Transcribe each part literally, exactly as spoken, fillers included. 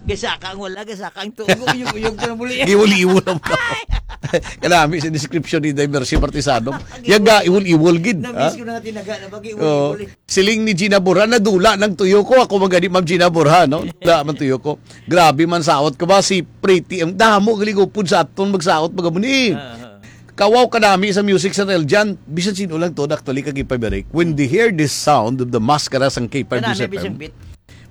Gasaka ang wala, gasaka ang tuo. Uyog-uyog ko na muli. Giwol-iwol ang tao. Kanami sa description ni Day Mercy Martisano. Yaga, iwol-iwol gid, ha? Namiss ko na nga tinaga na pag Oo. Iwol-iwol. Siling ni Gina Borja, "Nadula nang tuyo ko." Ako man gani, Ma'am Gina Borja, no? Nadula man tuyo ko. Grabe man saot ko ba si Pretty. Ang damo galing upod sa aton magsaot, mga muni. Ah, ah. Kawaw kanami sa music sa Neljan. Bisan sino lang to, actually, kag K five Eric. When they hear this sound of the maskara sang K five Kanami, News F M, bisang beat.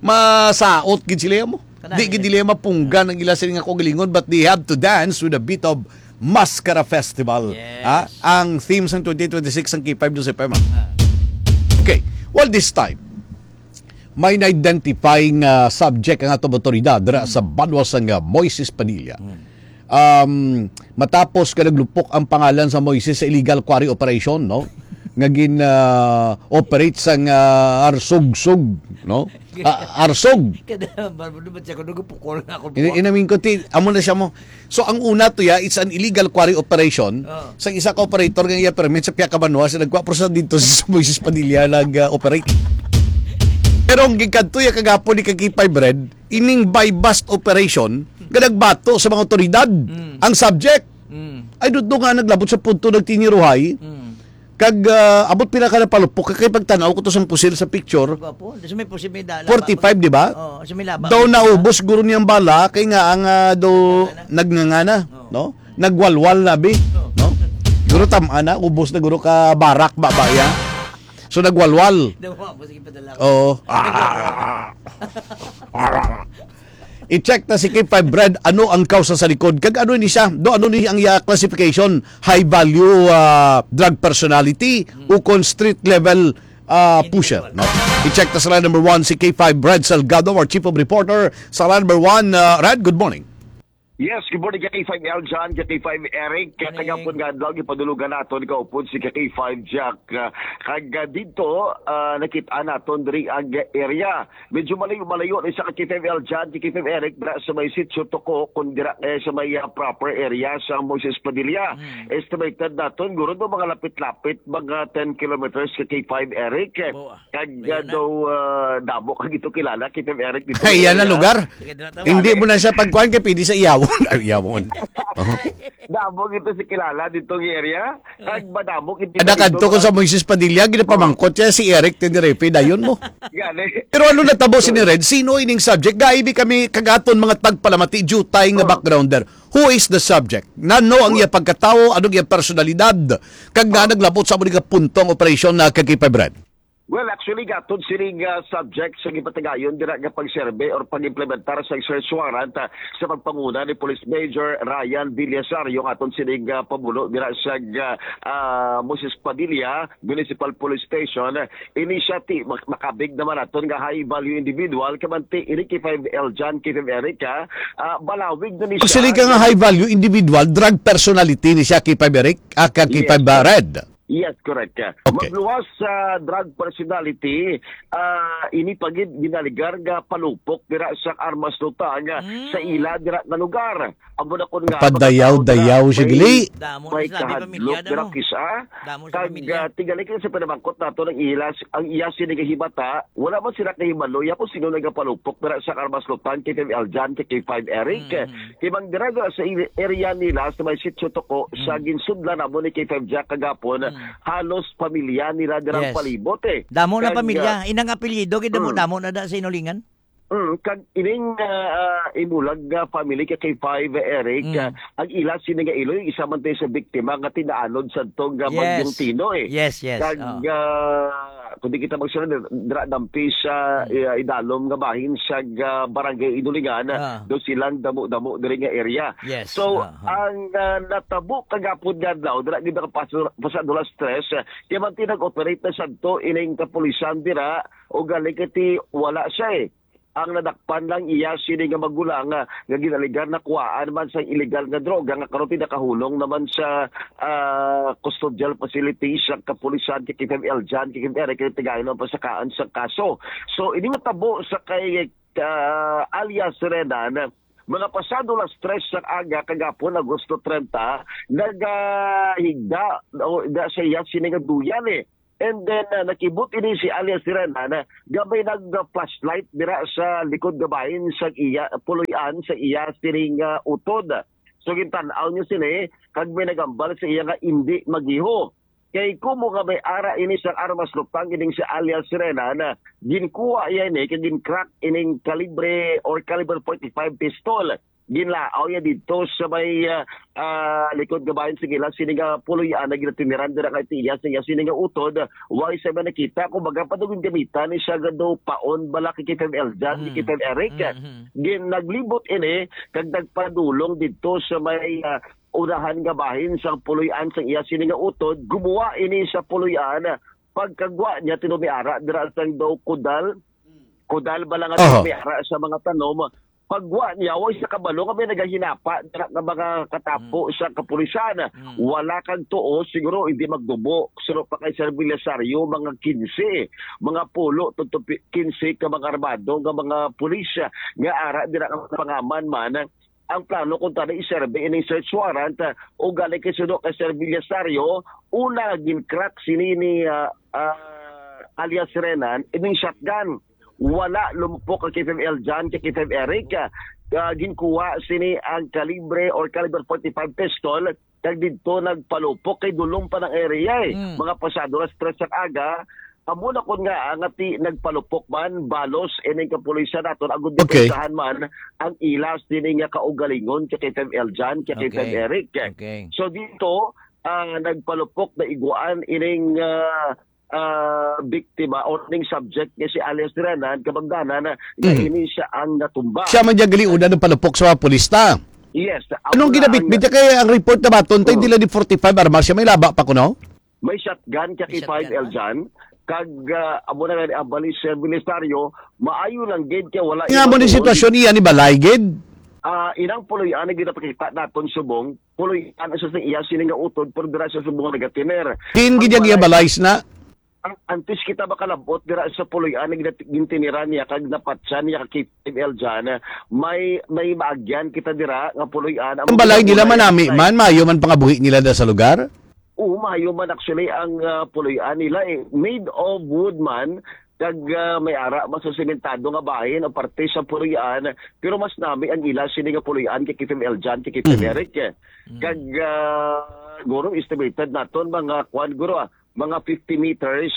Masaot gid sila mo. Kanami. Di gid nila mapunggan ang ila sila nga kaugalingon, but they have to dance with a beat of Maskara Festival. Yes. Ha? Ang theme sang twenty twenty-six sang K five News F M, ha? Ah. Okay. Well, this time, may na-identify nga subject ang atong awtoridad dira sa banwa sang, ah, Moises Padilla. Hmm. Um, matapos ka naglupok ang pangalan sa Moises sa illegal quarry operation, no? Nga gin, ah, operate sang, ah, Arsugsug, no? Ah, Arsug. Kada, ano ba siya, kung nagpukol nga ako Ini-, buwak. Inamin ko, ti, amo na siya mo. So, ang una to, ya, it's an illegal quarry operation. Oh. Sa isa ka operator nga iya permit sa Piakabanoa, sa nagkwa, pero sa dito sa Moises Padilla nag, ah, operate. Pero ang gikadto ya kagapon ni Kakipay Bread, ining buy-bust operation nga nagbato sa mga otoridad. Mm. Ang subject, Mm. I don't know nga naglabot sa punto nagtiniruhay. Mm. Kag, ah, abot pila ka napalupok kay pagtan-aw ko to sang pusil sa picture. Gwapo. Di sa may pusil may dala. Forty-five, di ba? Oo, sa may laba. Daw naubos guro niyang bala kay nga ang, ah, daw Nagnganga na. Nagnganga na, Oo. no? Nagwalwal na, bi, Oo. no? Guro tam-a na, ubos na guro ka barak ba ba ya? So nagwalwal. Daw mo, sige, padala ko. Oo. I-check ta si K five Bread, ano ang kausa sa likod? Kag ano ni siya? Do, ano ni ang iya classification? High value, ah, drug personality o kon street level, ah, pusher, no? I-check ta sa line number one si K five Bread Salgado, our chief of reporter sa line number one. Ah, Red, good morning. Yes, good morning, K five L John, K five Eric. Morning. Kagapon nga adlaw, gipadulugan naton kaupod si K five Jack. Ah, kag, ah, dito, ah, nakita naton diri ang area. Medyo malayo-malayo ni sa K five L John, K five Eric, dira sa may Sitio Toko, kung dira, eh, sa may, ah, proper area sa Moises Padilla. Mm. Estimated naton, guro do mga lapit-lapit, mga ten kilometers ka K five Eric. Bo, ah. Kag, Ayan ah, na. daw, ah, damo ka gito kilala, K five Eric, dito Ay, yan na area. lugar. Sige, dira ta, Hindi Alex. mo na siya pagkuhan kay pwede sa iyawon. Ay, iyawon. Oh. Damo gito si kilala dito nga area. Kag madamo gito Ada dito kadto ko mga sa Moises Padilla, ginapamangkot siya si Eric Tenerife, dayon mo. Gani. Pero ano natabo si ni Red? Sino ining subject? Gaibi kami kagaton mga tagpalamati, jutay nga Oh. backgrounder. Who is the subject? Nano ang iya pagkatawo? Ano ang iya personalidad? Kag nga Oh. naglabot sa mga punto ang operasyon na kag K five Bread? Well, actually, gatod sining, ah, subject sa gipatigayon dira nga pag-survey or pag-implementar sa search warrant, ah, sa pagpanguna ni Police Major Ryan Villasario, ang aton sining, ah, pamuno dira sa, ah, ah, Moses Padilla Municipal Police Station. Ini siya ti mak-, makabig naman aton nga high value individual, kamanti ini K five L John, K five Eric, ah, ah, balawig na ni siya. Actually, ka nga high value individual, drug personality ni siya, K five Eric, ah, ka K five Yes, sir. Red. Yes, correct. Okay. Magluwas sa drug personality, ah, ini pa gid ginaligar nga palupok dira sa Armas Lutang, ah, Mm. sa ila dira nga lugar. Amo na kun nga Padayaw-dayaw, may, sige, li. Damo may na sila, may kahadlok pamilya, dira damo. kisa. Damo sa Kag, pamilya. ah, tingali kay sa pinamangkot nato ang ila, ang iya sini nga hibata, wala man sila kahibalo ya kung sino nagapalupok dira sa Armas Lutang, K five Aljan, K five Eric. Mm. Kay mang dira, dira sa i-, area nila, sa may Sitio Toko, sa Mm. ginsudlan namo ni K five Jack kagapon, Mm. halos pamilya nila dirang Yes. palibot, eh. Damo na Kag, pamilya. ah, Inang apelyido, gid damo, mm. damo na da sa Inulingan? Mm, kag ining, ah, ah, imulag nga family kay K five, Eric, Mm. ah, ang ila sini nga iloy, isa man tayo sa biktima nga tinaanod sa tong, ah, Yes. Bagyong Tino, eh. Yes, yes. Kag, Oo. ah, kung di kita magsunod, dira dampi sa, Mm. ah, idalom nga bahin sa, ah, Barangay Inulingan, Ah. do silang damo-damo diri nga area. Yes. So, Ah, ah. ang, ah, natabo kagapon nga adlaw, dira gid nakapaso-, pasado alas tres, ah, kaya man ti nag-operate na sadto ining kapulisan dira, o gali kay ti wala siya, eh. Ang nadakpan lang iya sini nga magulang, ah, nga ginaligar na kuhaan man sa illegal nga droga nga karon ti nakahulong naman sa, ah, custodial facility sa kapulisan kay K five Aljan, kay K five Eric, kay tigayon ang pasakaan sa kaso. So, ini matabo sa kay, ah, alias Renan, mga pasado alas tres sa aga kagapon, Agosto trenta, nagahigda o da sa iya sini nga duyan, eh. And then, ah, nakibot ini si alias Renan, ah, nga may nag-flashlight dira sa likod nga bahin sa iya, puloy-an sa iya sining, ah, utod. So, gintan-aw niya sini, kag may nagambal sa iya nga indi magiho. Kay kumo nga may ara ini sang armas lupang ining si alias Renan, ah, ginkuha iya ini kag gin-crack ining kalibre or caliber forty-five pistol. Ginlaaw iya didto sa may, ah, ah, likod nga bahin sa ila sini nga puloy-an nga ginatiniran dira kay tiya sa iya sini nga utod. Way sa man nakita, kumbaga, padugod gamitan ni siya gado paon bala kay K five Eljan, kay Mm. K five Eric. Mm-hmm. Gin-, naglibot ini kag nagpadulong didto sa may, ah, unahan nga bahin sang puloy-an sang iya sini nga utod. Gumuha ini sa puloy-an. Pagkagwa niya, tinumiara dira sang daw kudal. Kudal bala nga Oho. Tinumiara sa mga tanom. Pagwa niya, way sa kabalo nga may nagahinapa dira nga mga katapo Mm. sa kapulisan. Mm. Wala kag tuo, siguro hindi magdubo. Suro pa kay Sir Belisario, mga kinse, mga pulo, to, to, kinse ka mga armado nga mga pulis nga ara dira nga pangaman man. Ang plano kung tani iserbi ining search warrant, ah, ugali kay suno kay Sir Belisario, una gin-crack sini ni, ah, ah, alias Renan, ining shotgun. Wala lumupok kay K five Eljan, kay K five Eric, ah, ah, ginkuha sini ang kalibre or caliber forty-five pistol, kag didto nagpalupok kay dulom pa ng area, eh. Mm. Mga pasado alas tres sa aga, amo na kon nga, ah, nga ti nagpalupok man, balos, ining kapulisan naton, agud Okay. depensahan man ang ilas dini nga kaugalingon kay K five Eljan, kay K five Okay. Eric. Okay. So dito, ah, nagpalupok na iguan ining, ah, ah, biktima or ning subject nga si alias Renan, kabangdanan nga Mm. ini siya ang natumba. Siya man dyan gali una ng palupok sa mga pulis ta. Yes, Anong amo na ginabitbit ang niya? Kay ang report na baton, tayo Mm. dila di forty-five armas siya, may laba pa kuno? May shotgun kay May K five shotgun, ah. Eljan. Kag, ah, amo na nga ni ang balis sa ministeryo, maayo lang gid kay wala Nga iba mo ni tuod. Sitwasyon iya ni balay gid? Ah, inang puloy-an nga ginapakita naton subong, puloy-an sa sa iya sini nga utod, pero dira sa subong nga nagatiner. Kin Ang gid ang iya balay balay na? Ang, antes kita makalabot dira sa puloy-an nga ginat-, gintiniran niya kag napatyan niya kay K five Eljan, may, may maagyan kita dira nga puloy-an. Ang balay nila manami man, maayo man pangabuhi nila da sa lugar? Oo, maayo man actually ang, ah, puloy-an nila, eh. Made of wood man, kag, ah, may ara man sa sementado nga bahin o parte sa puloy-an, pero mas nami ang ila sini nga puloy-an kay K five Eljan, kay K five Mm. Eric, eh. Mm. Kag, ah, guro, estimated naton mga kwan, guro, ah, mga fifty meters,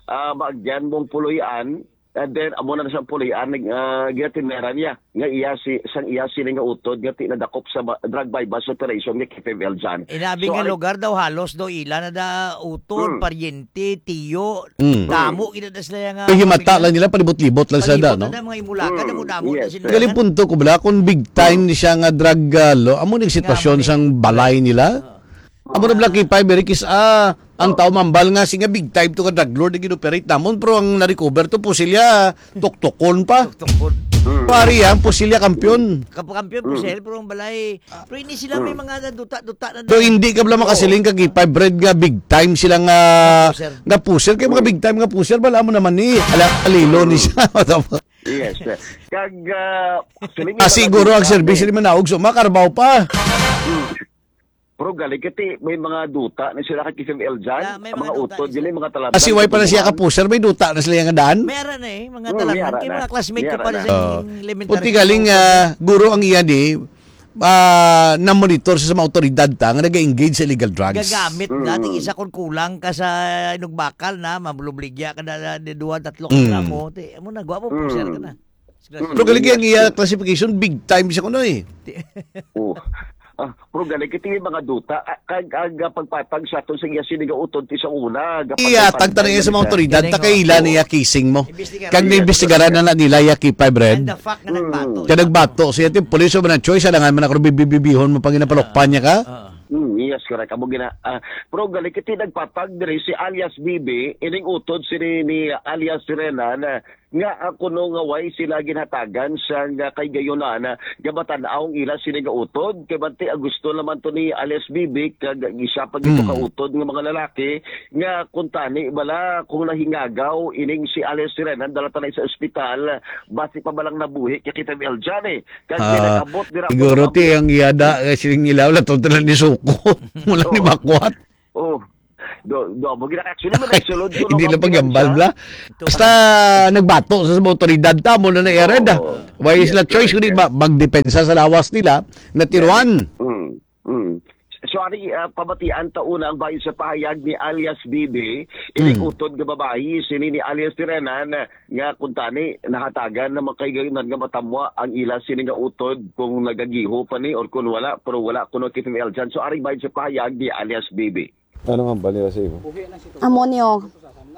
ah, maagyan mong puloy-an, and then amo na sa puloy-an, ah, ginatinera niya nga iya si, sang iya sini nga utod nga ti nadakop sa ba-, drug buy-bust operation nga K five Eljan. Inabi So, nga ang lugar daw halos daw ila na da utod, Hmm. paryente, tiyo, Hmm. damo gid na sila nga Yung himata pamilya. lang nila, palibot-libot lang sila da, Palibot no? na mga imulakan, Hmm. damo-damo na Yes, sila. Galing punto ko bala kung big time Hmm. ni siya nga drug, ah, lo, amo ning sitwasyon Nga, sang balay nila. Ah. Amo na bala kay Five Eric is, ah, ang Oh. tao mambal nga, si nga big time to ka drug lord, nag-inoperate namon, pero ang na-recover to, pusilya, tuktukon pa. Tuktukon. Mm. Pari, ang pusilya, kampiyon. Kapu-, kampiyon, Mm. pusil, pero ang balay, pero hindi sila may Mm. mga duta-duta na So, daw. hindi ka bala Oo. makasiling ka, kay Five Red nga big time sila nga, Nga pusher. nga pusher. Kay mga Mm. big time nga pusher, bala mo naman ni, ala, alilo ni Mm. siya. Yes, sir. Kag, ah, actually, may Ah, mga siguro ang duta service na ni manaog, so makarbaw pa. Mm. Pero galing kay ti, may mga duta na sila kay K five Eljan, Na, may ang mga mga duta utod, na yun, sila. Mga talaban, Kasi why pa na siya tubuhan. Kapuser, may duta na sila nga daan? May ara na eh, mga Hmm, talaban. May ara Kay na. mga classmate May ko ara pa na na. sa Oh. elementary Puti school galing, ko. ah, guro ang iya di, ah, na-monitor sa mga awtoridad ta nga nag-engage sa illegal drugs. Gagamit na, Mm. ting isa kung kulang ka sa inugbakal na, mabulubligya ka na, na, na duha, tatlo ka Mm. gramo. Ti, amo na, gwapo, Mm. puser ka na. Pero galing ang iya classification, big time siya kuno eh. Oh. Ah, pero galing kay ti mga duta, ah, kag, ag, ah, pagpatag sa aton sa iya sini nga utod ti sa una, gapatay-patay Iya, tagta na iya sa mga man siya. otoridad, Galing, ta oh. kaila niya kising mo. Imbestigaran. Kag Yes, naimbestigaran correct. na na nila iya kay Five Red. And the fact nga Mm. nagbato. Kaya nagbato siya, ti, police of na choice, alangan man ako bibibibihon mo pang ginapalokpan niya ka. Ah. Mm, yes, correct. Amo gina, ah, pero galing kay ti nagpatag diri si alias Bibi, ining utod sini ni alias Renan, ah, nga, ah, kuno nga way sila ginhatagan sang, ah, kaigayonan, ah, nga matan-aw ang ila sini nga utod. Kay bati, ah, gusto naman to ni alias Bibi kag isa pa gito Hmm. ka utod nga mga lalaki nga kung tani bala kung nahingagaw ining si alias Renan, dala ta na sa ospital, basi pa balang nabuhi kay kita Eljan eh. Kag Ah, nag-abot dira siguro pa ti ang iyada, eh, sining ilaw, lato na ni suko. Mula ni Oo. Makwat. Oh. Do, do, mo gina-, actually, mo nagsulod ko, Hindi no, lang paghambal, siya. Bla. Basta nagbato sa mga otoridad ta, mo na na-, Oo. Red, ah. Why is Yes, na choice, correct, kundi yes. ma-, magdepensa sa lawas nila, na tiruan. Mm, mm. So, ari, ah, pamatian ta una ang bahin sa pahayag ni alias Bibi, Mm. inikutod nga babayi, sini ni alias Tiranan, nga kung tani, nahatagan na makaigayonan nga matamwa ang ila sini nga utod kung nagagiho pa ni or kung wala, pero wala kuno K T M L dyan. So, ari bahin sa pahayag ni alias Bibi. Ano nga ba nila sa imo? Amo niyo,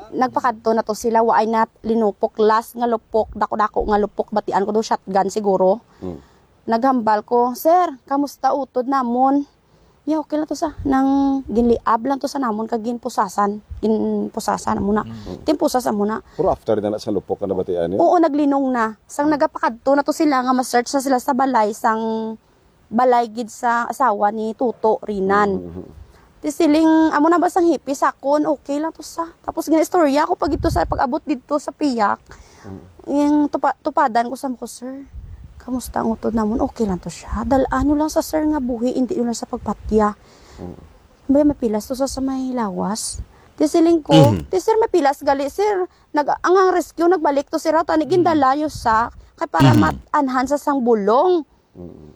nagpakadto na to sila, waay na linupok, last nga lupok, dako-dako nga lupok, batian ko do shotgun siguro. Hmm. Naghambal ko, "Sir, kamusta utod namon?" "Ya, okay lang to sa, nang ginliab lang to sa namon, kag ginpusasan, ginpusasan amo na." Hmm. Timpusas amo na. Pero after na na sa lupok ka nabatian niyo? Oo, naglinong na. Sang Hmm. nagapakadto na to sila nga ma-search na sila sa balay, sang balay gid sa asawa ni Tuto Rinan. Mhm. Ti siling, amo na ba sang hipi sa akon, okay lang to sa. Tapos ginaistorya ko pa gid to sa pag-abot didto sa piyak. Mm. Yung tupa-, tupadan ko sa ko, "Sir, kamusta ang utod namon? Okay lang to siya. Dal-an nyo lang sa sir nga buhi, hindi nyo lang sa pagpatya." Mm. May mapilas to sa, sa may lawas. Ti siling ko, Mhm. "Ti sir, mapilas gali, sir. Nag-, ang, ang rescue, nagbalik to, sir, tani Mm. gindala nyo sa, kay para Mhm. mat-anhan sa sang bulong." Mm.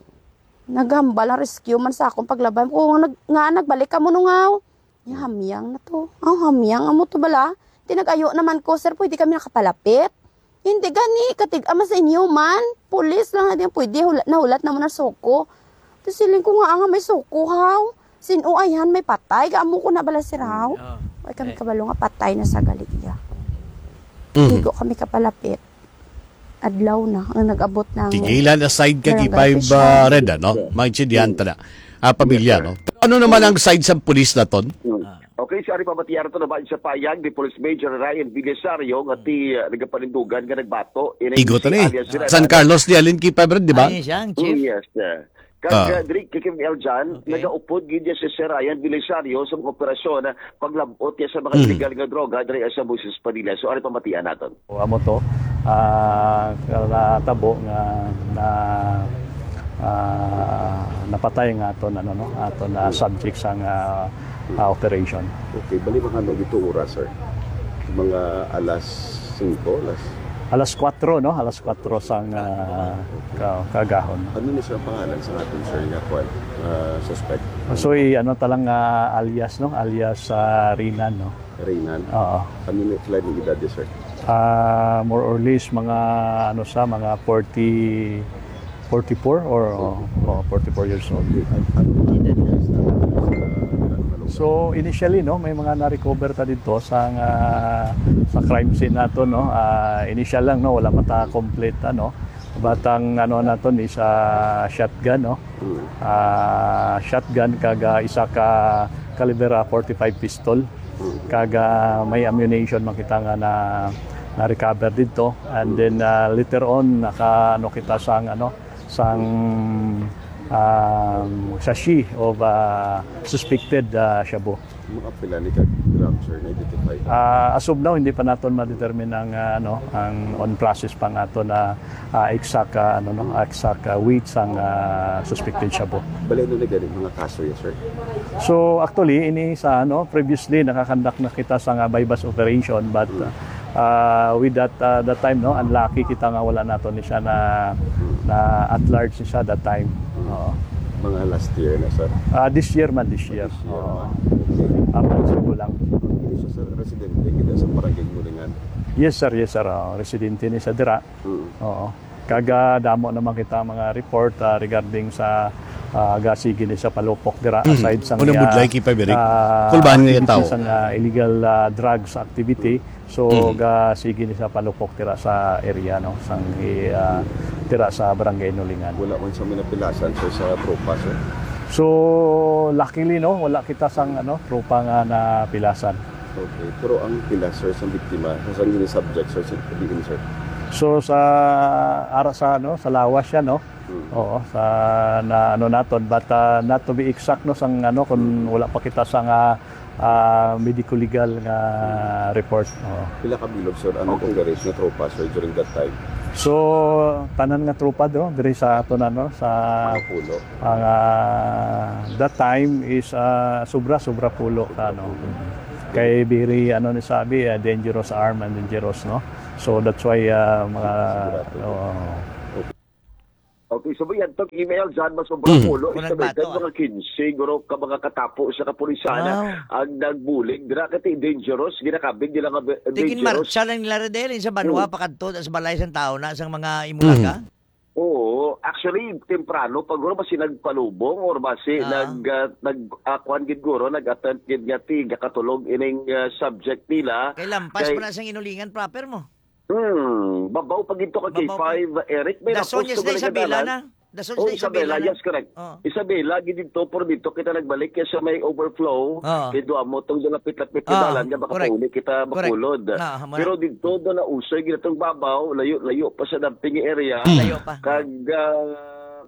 Naghambal ang rescue man sa akong paglabay. Kung nag-, nga nagbalik ka mo nung haw, ya, hamyang na to. Ang hamyang amo to bala. Tinag-ayo naman ko, "Sir, pwede kami nakapalapit?" "Hindi gani, katig-a man sa inyo man. Pulis lang na din pwede. Hula-, nahulat naman ang suko." Ti siling ko nga, "Nga may suko, haw? Sin-o ayhan may patay? Ga amo ko na bala, sir, haw?" Mm, oh. Ay kami Eh. kabalo nga patay na sa gali iya. Mhm. Di ko kami kapalapit. Adlaw na ang nag-abot ng Tigilan aside ka, barangay Gipay, official. Ba, Red, ano? Yeah. Maintindihan ta na. Ah, pamilya, Yes, sir. No? Pero ano naman ang side sa pulis naton? Hmm. Ah. Okay, so ari pamatian to na ba sa payag ni Police Major Ryan Villasario nga ti, ah, nagapanindugan nga nagbato ini Igo si to ni. Alias Ryan. San Carlos ni Alin Kipay, Red, di ba? Ay, siya ang chief. Hmm, yes, sir. Kag, Ah. ah, diri, K K M L dyan, Okay. nagaupod gid niya si Sir Ryan Belisario sa mga operasyon, ah, paglab-ot niya sa mga Mhm. illegal nga droga diri sa Moises Padilla. So, ano pamatian naton? O, amo to, ah, natabo nga na, ah, napatay nga aton, ano, no, aton na Mhm. subject sang, ah, ah, operation. Okay, bali mga ano dito oras, sir? Mga alas singko, alas Alas kwatro, no? Alas kwatro sang, ah, ka-, kagahon. Ano ni siya ang pangalan sa aton, sir, nga kwan, ah, suspect? So, i-, ano ta lang, ah, alias, no? Alias, ah, Rinan, no? Rinan? Oo. Ano ni, pila ni edad ni, sir? Ah, more or less, mga, ano sa, mga forty, forty-four or, oh, oh, forty-four years old. Okay. An-, ano ang edad niya sa, sa, sa, So, initially, no, may mga na-recover ta dito sa, ah, sa crime scene nato, no. Ah, initial lang, no, wala pa ta complete, ano. But ang, ano, naton is, ah, shotgun, no. Mm. Ah, shotgun kag, ah, isa ka caliber, ah, forty-five pistol. Mm. Kag, ah, may ammunition man kita nga na, na-recover dito. And Mm. then, ah, later on, naka, ano, kita sang, ano, sang, um, sachet of, ah, suspected, ah, shabu. Mga pila ni ka gram, sir, na-identify? Ah, as of now, hindi pa naton ma-determine ang, ah, ano, ang on process pa nga ato na, ah, exact, ah, ano, no, exact, ah, weight sang, ah, suspected shabu. Bali, ano na gani mga kaso yan, sir? So, actually, ini sa, ano, previously, nakakandak na kita sa nga buy-bust operation, but, Mm. ah, with that, ah, that time, no, unlucky kita nga wala nato ni siya na, Mm. na at large ni siya that time. Mm. Oo. Mga last year na, sir? Ah, this year man, this year. This year Oo. man. Okay. Ah, months ago lang. Hindi siya, sir, residente kita sa Barangay Nulingan? Yes, sir. Yes, sir. Oo, residente ni sa dira. Mm. Oo. Kag, ah, damo naman kita mga report, ah, regarding sa, ah, gasigi ni sa palupok dira, Mm. aside sa Una nga, budlay, Kipay, Birig. ah, Kulbahan nga activities tao. Sa nga illegal, ah, drugs activity. So, Mm. gasigi ni sa palupok dira sa area, no, sang i-, ah, dira sa Barangay Nulingan. Wala man sa minapilasan, sir, sa tropa, sir? So, luckily, no, wala kita sang, ano, tropa nga napilasan. Okay. Pero ang pila, sir, sa biktima, sa saan gini subject, sir, sa diin, sir? So, sa, ara sa, ano, sa lawas siya, no? Hmm. Oo, sa, na, ano naton, but, ah, not to be exact, no, sang, ano, kung Hmm. wala pa kita sa nga, ah, medico-legal nga Hmm. report. Oo. Pila ka bilog, sir, ang Okay. nag-operate nga tropa, sir, during that time? So, tanan nga tropa, no, diri sa ato na, no, sa Mga pulo. Ang, ah, that time is, ah, sobra, sobra pulo ka, no? Kay very, ano ni sabi, ah, dangerous arm and dangerous, no? So that's why, ah, mga, Sigurado. Oo. Okay, so yan, itong email dyan, mas sobrang Mhm. pulo, Kung estimated, nagbato, ah. mga kinse, guro, ka mga katapo sa kapulisan, Wow. ang nagbulig, dira kati dangerous, ginakabig nila nga be-, Tigin dangerous. marcha lang nila, Redel, sa banwa, Mm. pakadto, sa balay sang tao na, sang mga imulaga? Mhm. Oo, actually, temprano pa, guro, basi nagpalubong or basi Ah. nag, ah, nag, ah, kuwan gid, guro, nag-attempt gid nga ti, gakatulog ining, ah, subject nila. Kay lampas Kay pa na sang inulingan proper mo. Hmm, babaw pa gid to ka Babaw pa. K five, Eric. May Dason, napos yes, to na galing Isabela kadalan. na. Dason, Oh, yes, na Isabela, Isabela na. yes, correct. Oh. Isabela, gid dito, pero dito kita nagbalik kaya sa may overflow. Oh. Kay duha mo tong lapit-lapit Oh, kadalan nga baka correct. pauli kita Correct. makulod. Ah, hamo na. Pero dito, doon na usoy, gid itong babaw, layo-layo pa sa dumping area. Hmm. Layo pa. Kag, ah,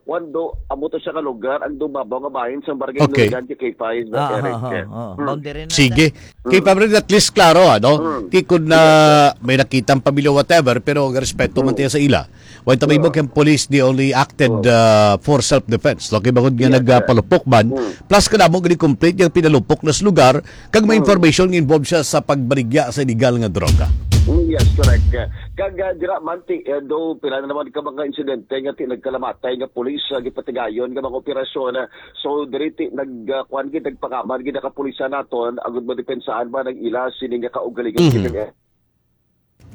kuwan do, amo to siya ka lugar, ang dumabaw nga bahin sa barangay Okay. Nuligan kay K five, Ah, Eric. ah, ah, ah. Hmm. Boundary na Sige. Kay Mm. Pablo, at least klaro, ano? Mm. Ti kun na Yes, sir. may nakita ang pamilya, whatever, pero respeto man Mm. tayo sa ila. Why ta may Oo. bukang police, they only acted, Oo. uh, for self-defense. No? Kay bangod nga Yes, sir. nagpalupok man, Mm. plus kadamo gani complete yung pinalupok na sa lugar, kag may Mm. information nga involved siya sa pagbaligya sa illegal nga droga. Mm, yes, correct. Kag, uh, dira man ti, uh, do, pila na naman ka mga insidente nga ti nagkalamatay nga police, uh, gipatigayon nga mga operasyon, uh, So, diri ti nag, ah, kuwan gid, nagpangaman gid ang kapulisan naton, agud madepensahan ba nang ila sini nga kaugalingon Mhm. gid.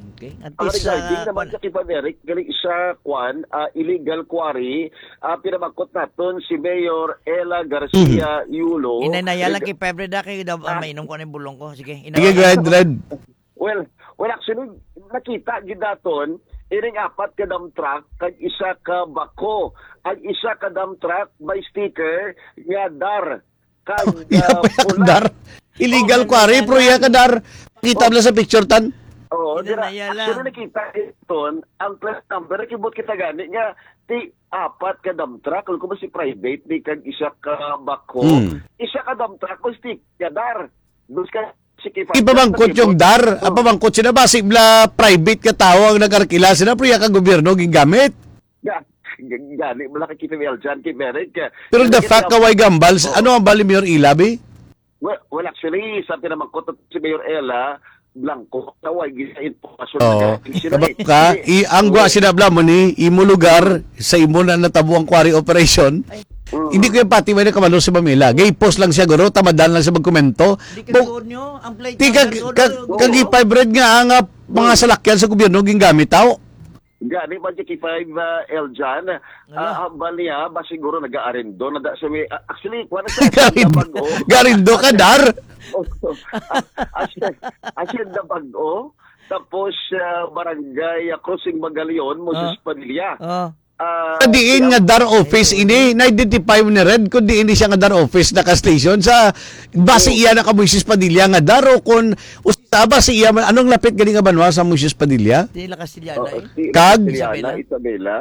Okay. At Ang least, regarding ah, naman kuwan. sa Kiban Eric, gali sa kuwan, ah, illegal quarry, ah, pinamangkot naton si Mayor Ella Garcia Mhm. Yulo. Inanaya lang Reg- kay Pebre da, kay daw, ah, Ah. mainom ko na yung bulong ko. Sige, ina- Sige, go ahead, Red. Well, well, actually, nakita gid naton, ining apat ka dump truck kag isa ka backhoe. Ang isa ka dump truck may sticker nga dar. Kag, Illegal ah, pula. dar. Illegal Oh, quarry, illegal pero iya dar. ka dar. Kita Oh. mo lang sa picture, tan. Oo, Ina dira, na yala. actually, nakita naton ang plate number, nakibot kita gani nga ti apat ka dump truck, kung ba si private ni kag isa ka backhoe, Hmm. isa ka dump truck, may sticker nga dar. Dos ka Sige, Ipabangkot yung dar, Ah. ipabangkot sila. Basi bla private ka tao ang nag-arkila sila, pero iya ka gobyerno gingamit. Ga-, ga-, gani mo lang kakita ni Aljan kay Merrick, eh. Pero the Kaya fact kaya ka way gambal, Oh. ano ang bali Mayor Ella, bi? Well, well, actually, sa pinamangkot si Mayor Ella, blanco, kaway gid sa impormasyon Oo. na sila, Kabalo eh. ka, Hindi. i-, ang gwa Oo. sila bla mo ni, imo lugar, sa imo na natabo ang quarry operation, Ay. Mm. Hindi ko yung pati may nakabalo si Pamela. Gay post lang siya, guro. Tamadan lang siya magkomento. Di ka Bo-, sure nyo? Ang plate di ka, number, ka, sure, kag i-five red nga ang, ah, mga Hmm. salakyan sa gobyerno gingamit, tao. Gani man si K five, ah, Eljan, Ala. ah, hambal niya, ba siguro nag-aarindo na da sa may, ah, actually, kuha na siya, Garindo, bag-o. garindo ka, Dar? Oh, ah, asya, asya na bag-o. Tapos, ah, barangay, ah, Crossing Magalion, Moses Ah. Padilla. Ah. Ah, Sa diin nga dar office ini, na-identify mo ni Red kung diin ni siya nga dar office naka-station sa basi Oh. iya na ka Moises Padilla nga dar o kung usa ba si iya man, anong lapit gani nga banwa sa Moises Padilla? Di la Castellana, Oh, eh. si Kag? Castellana, Isabela. Isabela.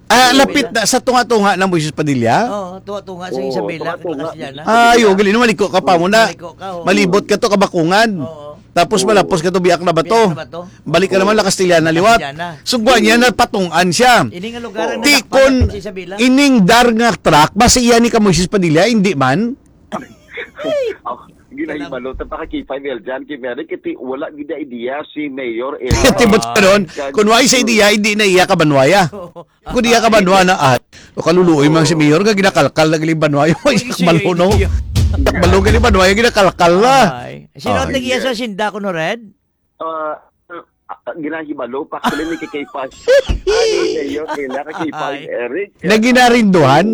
Ah, Isabela. lapit na sa tunga-tunga na Moises Padilla? Oo, tunga-tunga sa Oo, Isabela, tunga-tunga. Castellana. Ah, yo, gali naman, liko ka pa mo na. Maliko ka, oo. Malibot ka to, Kabakungan. Oo. Tapos Oo. malapos ka to, Biak na ba to? Biak na ba to? Balik ka Oo. naman, La Castellana liwat. Castellana. Sugwa niya, Oo. napatungan siya. Ini nga lugar ang Ti nadakpan kon natin sa Isabela. ining dar nga truck, basi iya ni ka Moises Padilla, hindi man. Oh, ginahibalo, tapakakipay ni Eljan, kay Mary, kiti wala gid na idea si Mayor Ella. Tibot ka ron, Kag- kung wala sa idea, hindi na iya kabanwaya. Oo. Kung iya kabanwa na, ah, o kaluluoy man si Mayor, nga ginakalkal na galing banwaya. Ay, Ay, siya, maluno. iya. Maluno galing banwaya, ginakalkal na. Ay. Sino ang Ay. tag-iya sa sinda ko, no, Red? Ah, ah, ginahibalo, pa, actually, ni kay Pas. Ay, Mayor Ella, kay Pas Ay. Eric. Naginarinduhan?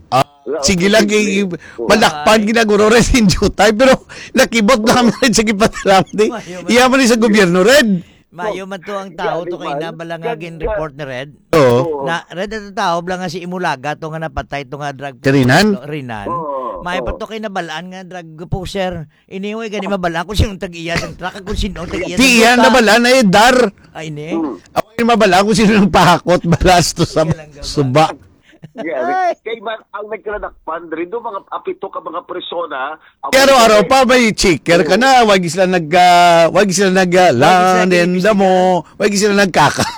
Ah, Wala sige ko lang, sige. i-, i-, Oo. malakpan Ay. ginaguro rin sa inyo tayo, pero nakibot na kami rin sa gipatilang, di? Mayo man. Iya man sa gobyerno rin. Mayo man to ang tao Gani to kay man. ina bala nga Kag-, gin-report ni Red. Oo. Oo. Na, Red, ato tao bala nga si Imulaga to nga napatay to nga drug Karinan? pusher to, Rinan. Oo, May oo. pa to kay nabalaan nga drug pusher. Iniway gani mabalaan kung sino ang tag-iya sang truck, kung sino ang tag-iya Di sang iya kota. nabalaan ay dar. Ay, ni? Hmm. Ako yung mabalaan kung sino ang pahakot, balas to sa Sige lang, gabal. suba. Yeah, Ay. Kay man, ang nagkaladakpan rin do, mga apito ka mga persona, ang Pero mga araw pa, may checker ka Oo. na. Wag sila nag, ah, wag sila nag, ah, Wag sila land and nag-iimbestiga. damo. Wag sila nagkakak.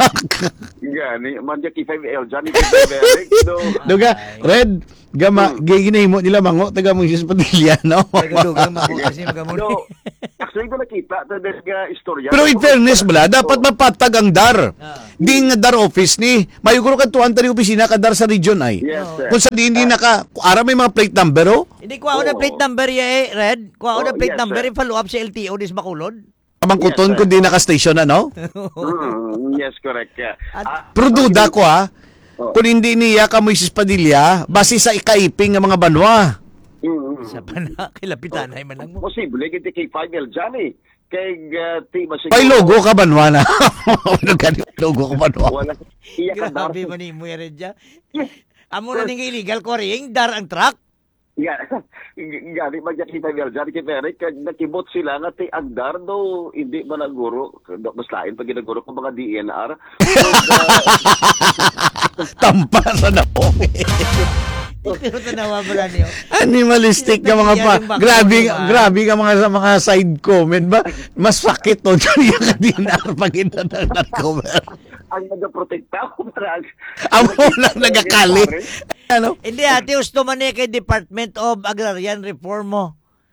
Gani, man, Jackie five L, Johnny Five L, Eric, do. Duga, Ay. Red, Gama, Hmm. gi-, ginahimo nila mango, taga Moises Padilla, no? Taga Dugang, mango kasi, mga muli. No. Actually, ko nakita, taga nga istorya. Pero in fairness, bala, dapat Oh. mapatag ang dar. Ah. Di nga dar office ni, mayo guro kadtuan tani opisina ka dar sa region ay. Yes, Oo. sir. Kung sa di, hindi Ah. naka, ara may mga plate number, oh. Hindi, kuha ko na Oo. plate number, ya, eh, Red. Kuha ko Oh, na plate yes, number, sir. i-follow up sa L T O, dis Bacolod. Pamangkuton Yes, sir. kung di naka-station, ano? Mm, yes, correct. Yeah. At Ah, Pero duda actually, ko, ha. Oh. Kung hindi niya ka Moises Padilla, base sa ikaiping nga mga banwa. Mm, mm. Sa pana, kay Lapitanay man lang mo. Posible, gid kay five L dyan eh. Kay, ah, ti, ba May siguro logo ka banwa na. Ano gani logo ka banwa? Wala. Iya ka Grabe dar. man ni mo, Red, ya. Yes. Amo na Sir. ning illegal quarrying, dar ang truck. Nga, gani, magkakita nga dyan, kay Eric, kag nakibot sila nga ti agdar do, hindi man naguro, do, mas lain pa ginaguro kung mga D N R. Kung, ah, Tampa sa naong. Pero tanawa mo lang niyo. Animalistic nga mga pa. Yung bakla, Grabe, di ba? grabe nga mga, sa mga side comment ba? Mas sakit to. Yung D N R pag inadagdag ko. Ang nagaprotekta, parang Amo lang nagakali. Ano? Hindi, ate, gusto man niya kay Department of Agrarian Reform mo.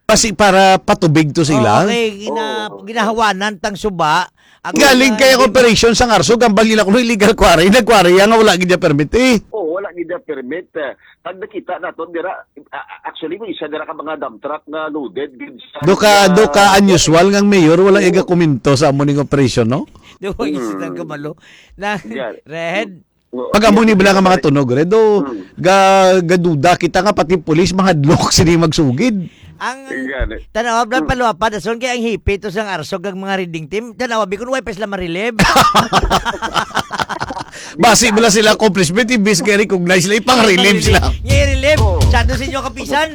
Kasi para patubig to sila. Oo, okay, gina-, Oo. ginahawanan tang suba. Ang Galing mga kaya di- operation sa Ngarso, gambal nila kung illegal quarry, nag-quarry yan nga wala gid niya permit eh. Oo, wala gid niya permit. Eh, pag nakita naton dira, a-, a-, actually, may isa dira ka mga dump truck nga loaded gid sa Do ka, mga do ka unusual nga ang mayor, wala Oo. iga komento sa amo ning operation, no? Do ka Mm. isa ng kabalo. Na, Yan. Red, Oo. Pag amo ni bala nga mga tunog, Red, do, Hmm. ga-, gaduda kita nga pati pulis mahadlok sini magsugid. Ang Gani. tanaw, Brad, Hmm. paluapa, dason kay ang hipi to sang Arsog kag mga reading team, tanaw, abi kun way pa sila ma-relieve. Basi bala sila accomplishment, imbis nga recognize sila, ipang-relieve sila. Nga i-relieve. Oh. Sa ato sa inyo kapisan.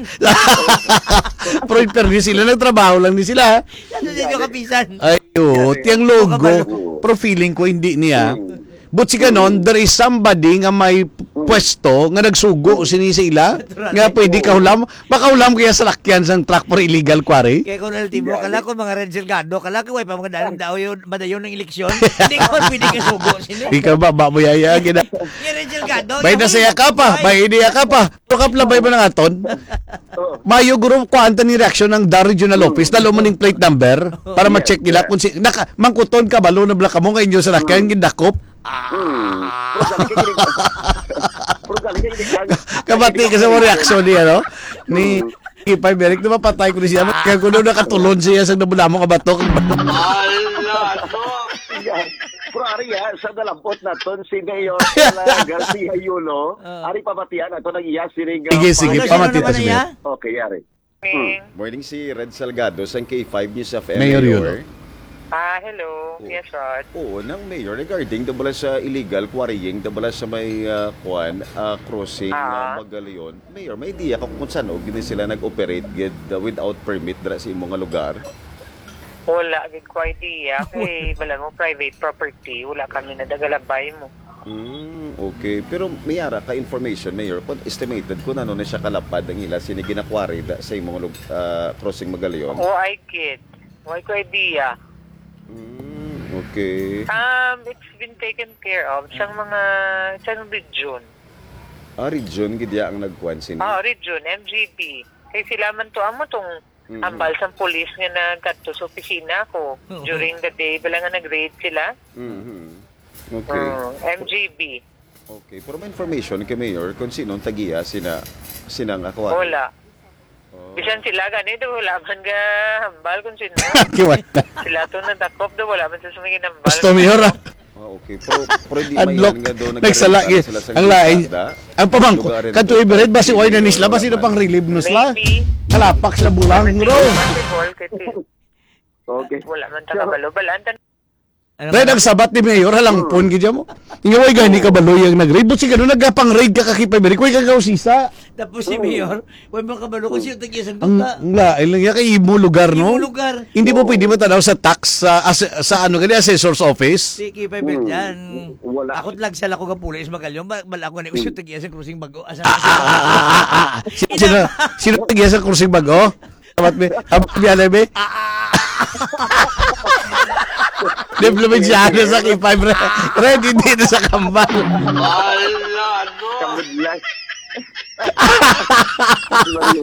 Pero in fairness sila, nagtrabaho lang ni sila. Sa ato sa inyo kapisan. Ay, oo, Gani. tiyang logo, Kabalo. pero feeling ko hindi niya. Hmm. But si ganon, there is somebody nga may pwesto nga nagsugo sini sa ila, Naturally. nga pwede Oo. kahulam, makahulam kaya sa lakyan sang truck for illegal quarry? Kaya kung ultimo, Yeah. kala ko mga Red Delgado, kala ko, way pa mga dalang daw yun, madayon ng eleksyon. Hindi ko pwede kasugo sini. Ikaw ba, ba mo yaya, gina- Yung Red Delgado, Bay yung na saya ka pa, Ay. bay niya ka pa. Pero kaplabay mo na nga, Ton. Oo. Mayo, guro, kuhaan ta ni reaksyon ng dar Regional Mm. Office, dalo mo ning plate number para Yes, ma-check nila yes. kung si, naka, mangkuton ka, balo na bala ka mo nga inyo sa lakyan, Mm. gindakop. Ah. Mm. Pero galing ka, galing ka. Pero galing ka, galing ka. Kabati ka sa mo reaksyon niya, no? Ni Mm. Ipay Beric, na mapatay ko ni siya. Ah. Kaya kung doon nakatulon siya sa nabulamo nga batok. Ala, no. Yan. Pero ari, ah, sa nalambot naton si Mayor Garcia Yulo, Ah. ari pamatian nato nag iya sining, ah, Sige, sige, Ano, sino pamati naman ta si na Mayor. iya? Okay, ari. Hmm. Morning, si Red Salgado sang K five News F M, Mayor Yulo. Mayor. Ah, hello. Oo. Yes, Rod. Oo, nang Mayor, regarding da bala sa illegal quarrying, da bala sa may, ah, kuan, ah, crossing, Ah. ah, Magaleon. Mayor, may idea ka kung saan o gini sila nag-operate gid, ah, without permit dira sa imo nga lugar? Wala gid ko idea kay bala mo private property, wala kami nadagalabay mo. Mm, okay. Pero may ara ka information, Mayor, kung estimated kung ano na siya kalapad ang ila sini ginakwari da, sa imong lug-, ah, crossing Magaleon? Oh, I get. Why ko idea? Mm, okay. Um, it's been taken care of sang mga, sang region. Ah, region gid ya ang nagkuan sini? Ah, region, M G B. Kay sila man to amo tong Mm-hmm. Ambal sang pulis nga nagkadto sa opisina ko Oo. during the day, bala nga nag-raid sila. Mm-hmm. Okay. Mm, M G B. Okay, pero may information kay Mayor kung sino ang tagiya sina, sina nga kuwan? Wala. Oh. Bisan sila gani, do wala man ga hambal kung sino. Kiwan. Sila to nadakop, do wala man sa sumingin hambal. Gusto, Mayor, ah. Ah, okay. Pero, pero di Adlok. mayan nga do Nagsala, nagkarintan eh. sila sa Ang lain. kalsada. Ang pamangko, Lugar kadto ito. Ibered, basi way na ni sila, basi na pang relieve no sila. Maybe. Kalapak sa bulang, bro. Possible, kasi Okay. wala man ta So, kabalo. Balaan ta. Ano Red, man? ang sabat ni Mayor, halangpon, Hmm. gid mo. Nga way gani kabalo yung nag-raid. But si gano, nagapang-raid ka, kakipay, Ibered. Way ka kausisa. Tapos si Hmm. Mayor, Way mo kabalo kung sino tag-iya sang Ang, duta. ang lain lang yan, kay imo lugar, no? Imo lugar. Hindi mo Oo. pwede matanaw sa tax, sa, as-, sa ano gani, assessor's office? Si Kipay Hmm. Berjan. Wala. Ako lang sila ko kapuli sa Magalyon. Ba-, bala ako ni Hmm. uso tag-iya sa crossing bago. Asa Ah, ah, ah, ah, ah, ah. Si-, Ina- sino, sino tag-iya sa crossing bago? Amat mi, amat mi, alay mi? Ah, ah, ah. Di, probinsyano sa Kipay, bre. Red, hindi na sa kambal. Ala, no. Kabudlay.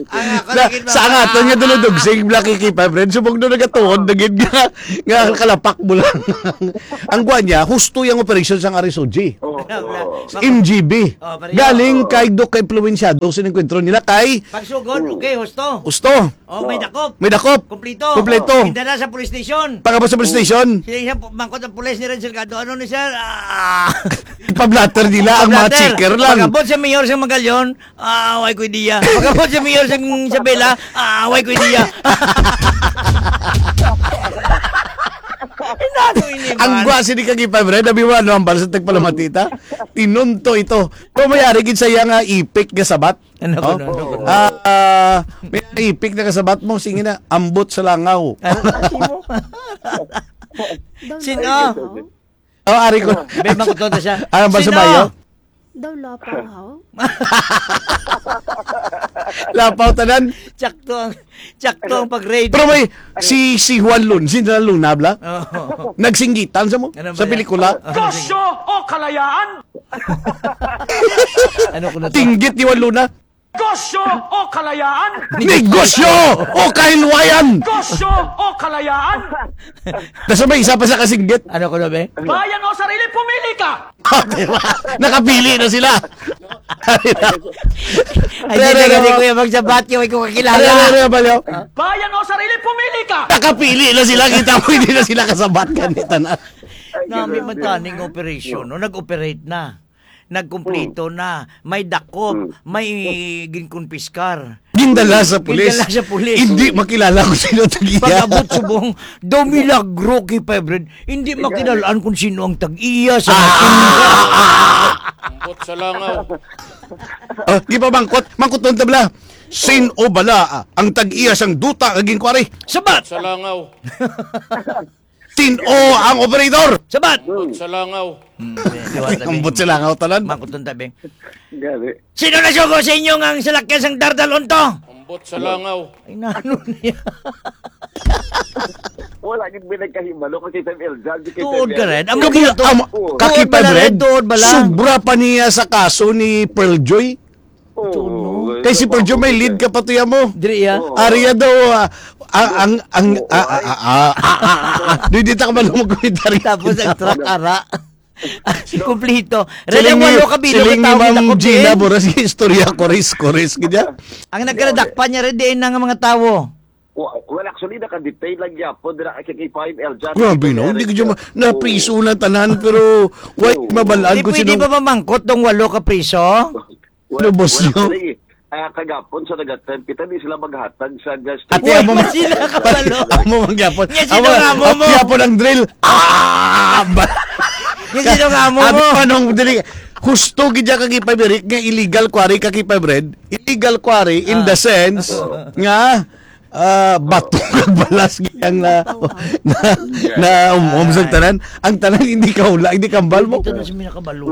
Ang ako Na, lagi sa ang aton nga duludog, sing Black K K five Red, subong doon nagatuon, nagid nga, nga kalapak mo lang. Ang gwa niya, husto yung operation sang R S O G. Oo. Ano, bla-, M G B. Oh, pareho. Galing Oo. kay Doc ka impluwensyado sa enkwentro nila kay Pagsugod, Mm. okay, husto. Husto. Oh, may dakop. May dakop. Kompleto. Kompleto. Indala sa police station. Pagabot sa police station. Sila sa pu-, mangkot ang pulis ni Red Salgado. Ano ni sir? Ah. Ipablatter nila ang mga Pablatter. checker lang. Pagabot sa mayor sa Magallanes, ah, way ko idea. Pagabot sa mayor sa Isabela, ah, way ko idea. Inano ini Ang man? gwa sini kag ipabred, abi mo, ano, ang balsa tagpalamatita? Tinunto ito. Pero may ari gid sa iya nga ipik nga sabat. Ano ko, Oh. ano ko? Ah, ah, may ipik na kasabat mo, sige na, ambot sa langaw. Ano na mo? Daw Sino? lapaw haw? Oh, ari ko. Be, makuton ta siya. Ano ba sa Sino? bayo? Daw lapaw haw? Lapaw tanan. Tsakto ang, tsakto ang pag-raid. Pero may, si, si Juan Lun, si Juan Luna, bla? Oo. Nagsinggitan sa mo? Ano ba Sa yan? pelikula? Ano ba yan? Gosyo o kalayaan? Ano ko na to? Tinggit ni Juan Luna. Gosyo o kalayaan? Negosyo o kahinwayan. Gosyo o kalayaan? Nasa may isa pa sa kasinggit. Ano ko na, be? Bayan o sarili, pumili ka! Di ba? Nakapili na sila. Ay, Re, hindi re, na kasi, re. kuya, magsabat yung ikaw kakilala. Re, re, re, baliw. Bayan o sarili, pumili ka! Nakapili na sila. Kita mo, hindi na sila kasabat. Ganito na. Nami man taning operasyon, no? Nag-operate na. Nagkumpleto Hmm. na. May dakop, Hmm. may ginkumpiskar. Gindala sa pulis. Gindala sa pulis. Hindi makilala kung sino tag-iya. Pag-abot subong, daw milagro kay Five Red. Hindi Ikaw. makilalaan kung sino ang tag-iya sa Ah! Ambot sa langaw. Ah, di pa mangkot. Mangkot doon tabla. Sin o bala, ah, ang tag-iya sang duta nga ginkwari. Sabat! Sa langaw. Sin-o ang operator? Sabat! Ambot sa langaw. Hmm, eh, siwat na, Ambot Beng. sa langaw, tanan. Mangkuton ta, Beng. Gani. Sino nasugo sa inyo nga ang salakyan sang Dardal Unto? Ambot sa langaw. Ay, nano niya? Wala gid may nagkahibalo kay Tita Eljan, kay Tuod Tita ka rin. Amo Tuod, gid to. amo, Oo. Tuod Kaki bala Padre, rin, tuod bala. sobra pa niya sa kaso ni Pearl Joy. Oo. Kay si Perjo may lead ka pa tuya mo. Diri, ah. Oo. Ariya daw, ah, ang, ang, ang, Oo, ah, ah, ay. ah, ah, ah, ah, ah, ah. Di, di ta ka man magkomentaryo. Tapos ang truck, ara. Kumplito. Siling Red ang ni, walo ka bilog siling ni ang tawag Ma'am na Gina, Kobe. Boras, istorya, kores, kores, gid ya. Ang nagkaladakpan niya, red, diin na nga mga tawo. Wa-, well, actually, naka-detain lang gyapon dira kay K five L Jan. Grabe, no? Hindi ko dyan ma-, napriso na tanan, pero why Oo. mabalaan Di ko pwede sino ba mamangkot tong walo ka priso? Wala, Lubos wala nyo? pala eh. Ah, kagapon sa nag-attempt kita, di sila maghatag sa gas Ate, station. amo Wala man, sila kabalo. ate, amo man gyapon. Nga Amo, sinungamo mo. amo gyapon ang drill. Ah! Ba- Nga sinungamo Amo mo. pa nung dili, husto gid ya kag ipabirik nga illegal quarry kag ipabired. Illegal quarry in Ah. the sense Oo. nga, ah, bato kag balas gid ang na, na, na um, um, sa tanan. Ang tanan hindi ka hula, hindi kambal mo. Ito na si Mina Kabalo.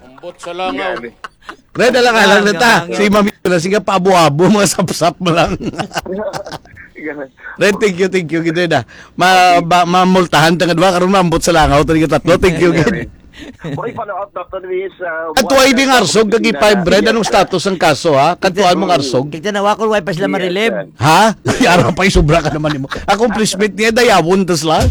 Ambot sa langaw. Gani. Red, alang-alang na ta. Ang, ang, Si Mami na, sige, paabo-abo, mga sapsap mo lang. Gani. Red, thank you, thank you, gid, Red, ah. Ma-, Okay. ba-, mamultahan ta nga duha, karon maambot sa langaw, ta nga tatlo. Thank you, gid. Gani. Oy, follow up, Doctor Luis, uh, Kadtuay what, ding uh, arsog, kag i-five, Red, anong status ang kaso, ha? Kadtuan mong arsog? Kita na, wa ko, wa pa sila Yes, marilib. sir. Ha? Ay, ara pa, sobra ka naman nimo. Accomplishment niya, dayawon, tas lang.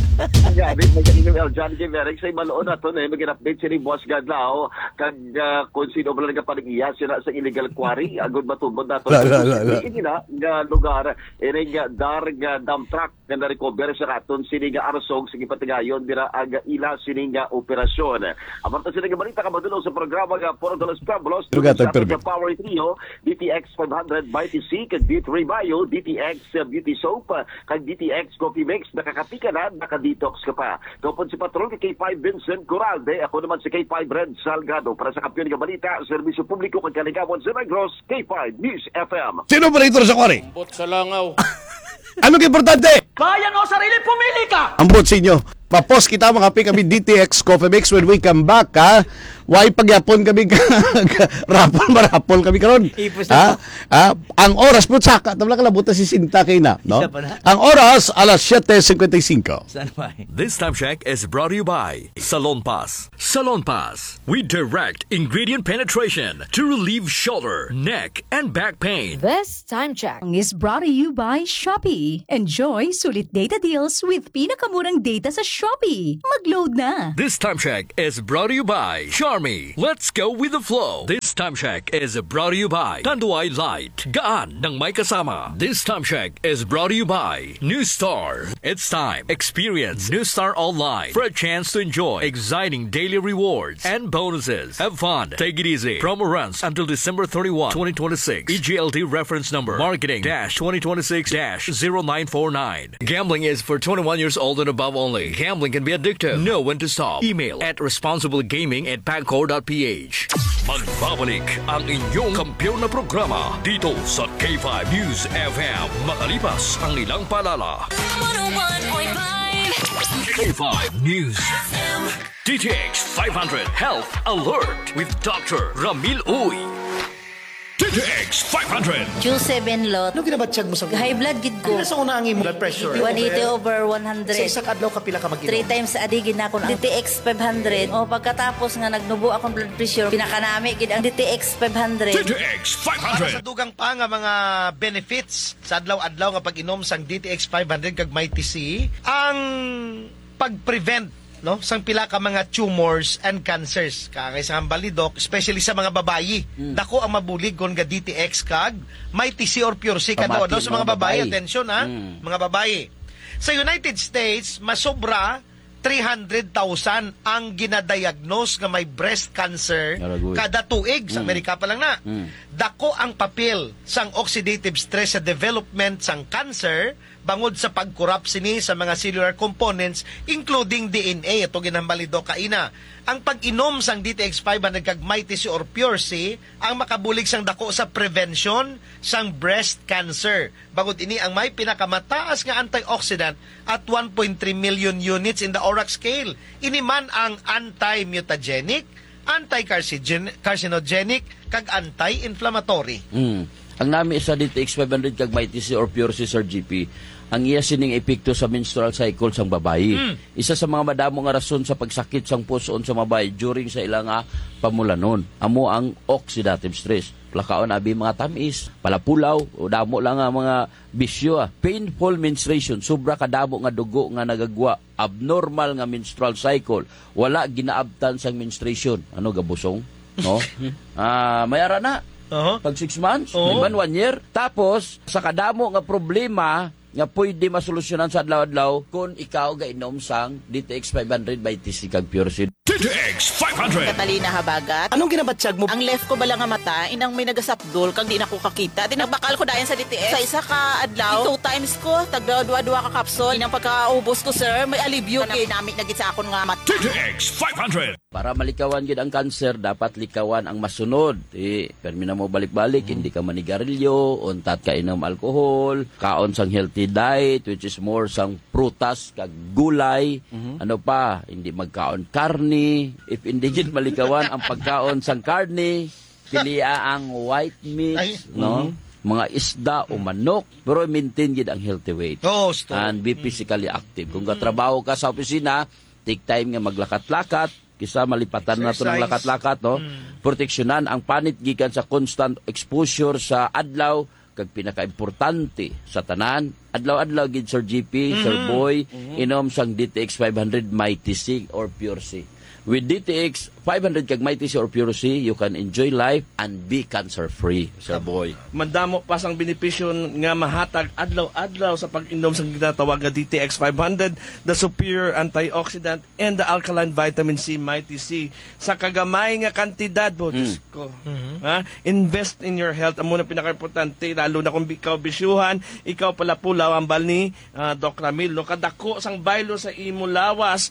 Gani, mag-email, John K. Merrick, sa Ibalon, ato na, mag-update si Boss Gadlao. Kag, ah, kung sino ba nagapanag-iya sila sa illegal quarry, agud matubod nato La, la, la, la. Ini na nga lugar, ini nga dar nga dump truck nga na-recover sa katon sini nga arsog sa gipatigayon dira ang ila sini nga operasyon. Apan ta sini nga balita ka madulong sa programa nga Puro Dalos Pablos, Lugar sa aton tagpirmi. Power Trio, D T X five hundred by T C, kag D three Bio, D T X Beauty Soap, kag D T X Coffee Mix, nakakapi ka na, naka-detox ka pa. Kaupod si Patrol kay K five Vincent Coralde, ako naman si K five Red Salgado. Para sa Kampiyon nga Balita, Serbisyo Publiko kag Kaligawan sa Negros, K five News F M. Sino operator sa quarry? Ambot sa langaw. Ano ka importante? Bayan o sarili, pumili ka! Ambot sa inyo. Mapos kita, mga pi, kami D T X Coffee Mix when we come back, ha? Why pagyapon kami ka, rapol, marapol kami karon? Ipos Ha? na. Ha? Ang oras po, saka, tabla ka labot na sesenta kay na, no? Isa pa na. Ang oras, alas siete cincuenta y cinco. Saan ba eh? This time check is brought to you by Salon Pass. Salon Pass. We direct ingredient penetration to relieve shoulder, neck, and back pain. This time check is brought to you by Shopee. Enjoy sulit data deals with pinakamurang data sa Shopee. Mag-load na! This time check is brought to you by Charmy. Let's go with the flow. This time check is brought to you by Tanduay Light. Gaan ng may kasama. This time check is brought to you by New Star. It's time. Experience New Star Online for a chance to enjoy exciting daily rewards and bonuses. Have fun. Take it easy. Promo runs until December thirty-one, twenty twenty-six. E G L T reference number marketing dash twenty twenty-six dash zero nine four nine. Gambling is for twenty-one years old and above only. Gambling can be addictive. Know when to stop. Email at responsiblegaming at pagcor dot p h. Magbabalik ang inyong kampiyon na programa dito sa K five News F M makalipas ang ilang paalala. one oh one point five K five News F M. D T X five hundred Health Alert with Doctor Ramil Uy. D T X five hundred. Q seven lot. Ano ginabatyag mo sa High blood gid ko. Pila sa una ang imo blood pressure? One eighty over one hundred. Sa isa ka adlaw, kapila ka mag-inom? Three times a day gid na ako na D T X five hundred. O, pagkatapos nga nagnubo akong blood pressure, pinakanami gid ang D T X five hundred. D T X five hundred. Para sa dugang pa nga mga benefits sa adlaw-adlaw nga pag-inom sang D T X five hundred kag Mighty C, ang pag-prevent, no, sang pila ka mga tumors and cancers. Kaangay sa hambal ni Doc, especially sa mga babayi. Mm. Dako ang mabulig kon ga D T X kag Mighty C or Pure C. Pamati, kadlaw-adlaw sa mga mga babayi, babayi. Atensyon, ha? Mm. Mga babayi. Sa United States, masobra three hundred thousand ang ginadiagnose nga may breast cancer Aragoy. Kada tuig. Sa Mm. Amerika pa lang na. Mm. Dako ang papel sang oxidative stress sa development sang cancer, bangod sa pag-corrupt sini sa mga cellular components, including D N A. Ato ginhambal ni Doc kaina. Ang pag-inom sang D T X five hundred kag Mighty C or Pure C ang makabulig sang dako sa prevention sang breast cancer. Bangod ini ang may pinakamataas nga antioxidant at one point three million units in the ORAC scale. Ini man ang anti-mutagenic, anti-carcinogen-, carcinogenic, kag anti-inflammatory. Mm. Ang nami sa D T X five hundred kag Mighty C or Pure C, Sir G P, ang iya sining epekto sa menstrual cycle sang babayi. Mm. Isa sa mga madamo nga rason sa pagsakit sang puson sa babayi during sa ila nga pamulanon amo ang oxidative stress. Plakaon abi mga tamis, palapulaw, o damo lang nga mga bisyo, ah. Painful menstruation, sobra kadamo nga dugo nga nagagwa, abnormal nga menstrual cycle, wala ginaabtan sang menstruation. Ano, gabusong? No? Ah, may ara na. Aha. Pag six months, Oo. May man one year. Tapos, sa kadamo nga problema nga pwede masolusyonan sa adlaw-adlaw kung ikaw gainom sang D T X five hundred Mighty C kag Pure C. D T X five hundred. Catalina Habagat. Anong ginabatyag mo? Ang left ko bala nga mata, inang may nagasapdol, kag di na ko kakita. Di nagbakal ko dayon sa D T X. Sa isa ka adlaw, two times ko, tagda dua-dua ka kapsul. Inang pagkaubos ko, sir, may alibyo. Kanami-nami na gid sa akon nga mata. D T X five hundred. Para malikawan gid ang kanser, dapat likawan ang masunod. Di, permi na mo balik-balik, hindi ka manigarilyo, untat ka inom alcohol, kaon sang healthy diet, which is more sang prutas kag gulay. Mhm. Ano pa, hindi magkaon karne. If hindi gid malikawan ang pagkaon sang karne, pilia ang white meats, Ay. no? Mhm. Mga isda o manok, pero maintain gid ang healthy weight. Oo, sto. And be physically active. Kung katrabaho ka sa opisina, take time nga maglakat-lakat, kisa malipatan na to ng Exercise. lakat-lakat, no? Mm. Proteksyonan ang panit gikan sa constant exposure sa adlaw, kag pinakaimportante sa tanan, adlaw-adlaw gid, Sir G P, Sir Mhm. Boy, Mhm. inom sang D T X five hundred Mighty C or Pure C. With D T X five hundred kag Mighty C or Pure C, you can enjoy life and be cancer-free, Sir Boy. Mandamo pa sang benepisyo nga mahatag adlaw-adlaw sa pag-inom sang ginatawag nga D T X five hundred, the superior antioxidant and the alkaline vitamin C, Mighty C. Sa kagamay nga kantidad, bo, Mm. Diyos ko. Mhm. Ha? Invest in your health. Amo na pinakaimportante, lalo na kung ikaw bisyuhan, ikaw pala pulaw, ang bal ni, ah, Doc Ramil, no? Kadako sang baylo sa imo lawas,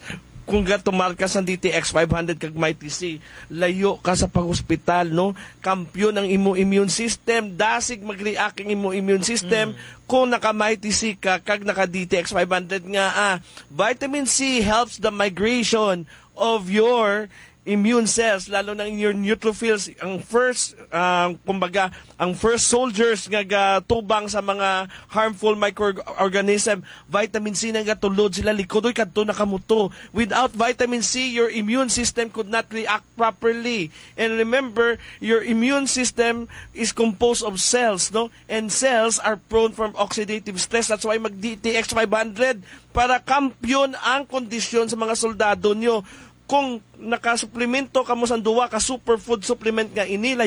kung gatumar ka sa D T X five hundred kag Mighty C, layo ka sa pag-hospital, no? Kampiyon ang imo immune system, dasig mag-react ang imo immune system Mm. kung naka-Mighty C ka kag naka-D T X five hundred nga, ah, vitamin C helps the migration of your immune cells, lalo na in your neutrophils, ang first, ah, kumbaga, ang first soldiers nga gatubang sa mga harmful microorganism, vitamin C na gatulod sila likod, oy, kadto na kamuto. Without vitamin C, your immune system could not react properly. And remember, your immune system is composed of cells, no? And cells are prone from oxidative stress. That's why mag-D T X five hundred para kampiyon ang kondisyon sa mga soldado nyo. Kung nakasuplemento kamo sa duwa ka superfood supplement nga ini,